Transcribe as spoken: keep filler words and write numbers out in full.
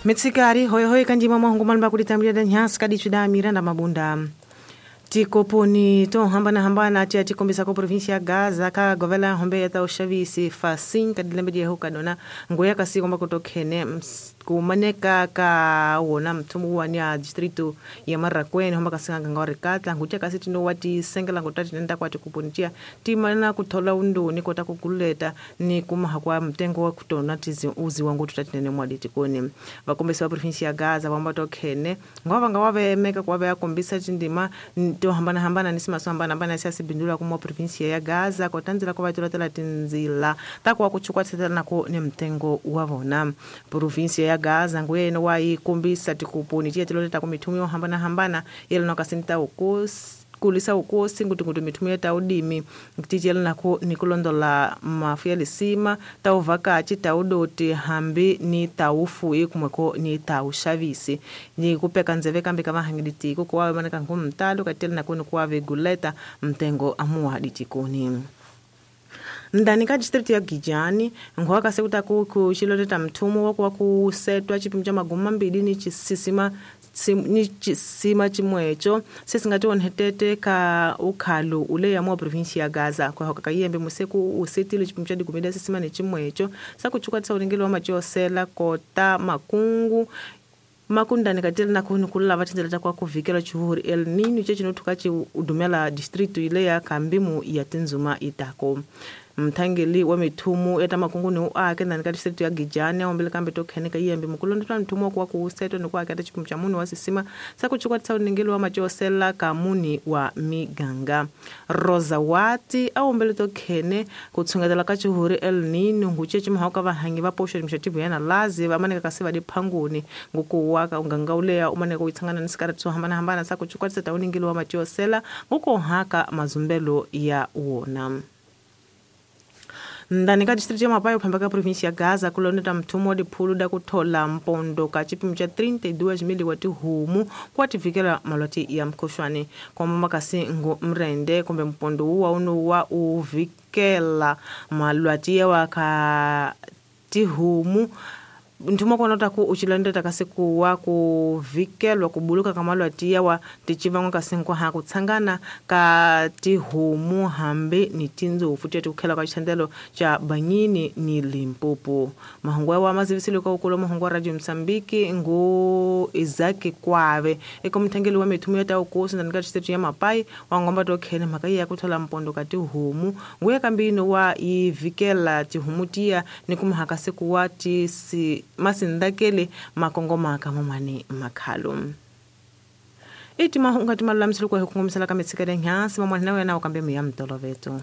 Mitsikari hoyohoyo kanjima mahungu malumba kulitambulira da nyasi kadichu da Miranda Mabunda. Tikoponi to hambana hambana tia tikombisa ko provincia Gaza ka govela hombe ya ta ushavisi fasin kadilembe dia hukadona ngoya kasi komba kutokhene kumaneka ka wona mthumu wa nya distrito ya Marraquene homba kasinga ngore katla ngutia kasi tino wati sengela ngotati nenda kwati kuponitia timana kuthola undoni kota kukuleta ni kumaha kwa mtengo wa kutona tizi uzi wangu tutatinene mwaditi koni vakombisa wa provincia ya Gaza vamba tokhene ngova ngawave meka kwa ya kombisa tindima to hambana hambana nisima so hambana hambana siasi bindula kumwa provincia ya Gaza kwa tanzila kwa vatula tinzila takwa kuchukua tsetela ko ni mtengo wa vona provincia ya Gaza nguye no wa ikumbisa tikuponi tiya tiloleta kumithumyo hambana hambana yelo nakasinta ukosi kulisa ukosi nguti nguti mithumyo ta udimi tichela nako nikulondola mafu ya lisima ta uvakachi ta udoti hambi ni ta ufuyi kumweko ni ta ushavisi ni kupeka nzeve kambi kama hangiditiko kwa maneka ngumtalo katela nako nikuwa viguleta mtengo amuwa ditikoni. Ndani ka district ya Gijani ngoka kasekuta ku kuchiloteta mthumu wakuwa kusetwa chipimo cha magumi mambili ni chisisima sim, ni chisima chimwecho sesingati onhetete ka ukhalu ule ya mwa provincia ya Gaza kwa hoka kayembe museku usetile chipimo cha digumida sisima ni chimwecho sakuchukwa tsa ulingelo wa machosela kota makungu makundani katela na kuni kulala vatinzela kwa kuvikela chuhuri El Nino che chinotuka chi udumela district ile ya Kambimu ya Tinzuma itako mthangeli wa mithumu eta makungu ni uake ndani ka district ya Gijani ombele kambe tokheneka yembe mukulondotwa mthumu kwa kusetwa ni kwa kata chipimo cha muni wa sisima sakuchukwa tsa uningeli wa machosela kamuni wa miganga Rosa Wati aombele tokhene kutsungatela ka chuhuri El Nino nguche chimhauka vahangi va posho mshativu yana lazi vamaneka kasiva diphanguni ngukuwaka unganga uleya umaneka uitsangana ni sikarati swo hambanahambana sakuchukwa tsa uningeli wa machosela ngukuhaka mazumbelo ya wona. Ndani ka district ya Mapayo phamba ka provincia ya Gaza kuloneta mthumu wa diphulu da kuthola mpondo ka chipimo cha trinta e duas mil wa tihumu kwa tivikela malwati ya mkhuhlwane kwamba makasi ngo mrende kumbe mpondo uwa uno wa uvikela malwati ya waka tihumu nthumo kona ku uchilondeta kasi kuwa kuvikelwa kubuluka kamalwati yawa tichivangwa kasi ha kutsangana ka tihumu hambi ni tindzofu tete kukhela ka xithandelo cha Banyini ni Limpopo. Mahungu wa mazivisile ka ukolo mahungu wa Radio Msambiki ngu Isaac Kwave eka mthangeli wa mithumu ya ta ukosi ndani ka district ya Mapai wa ngomba to khene mhaka ya kuthola mpondo ka tihumu nguye kambino wa ivikela tihumu tiya ni kumhaka sikuwa tisi masindakele makongoma ka mamane makhalo iti mahunga timalulamiselo kwa hukungumisela ka mitsikele nyasi mamwana na wena ukambe miya mtoloveto.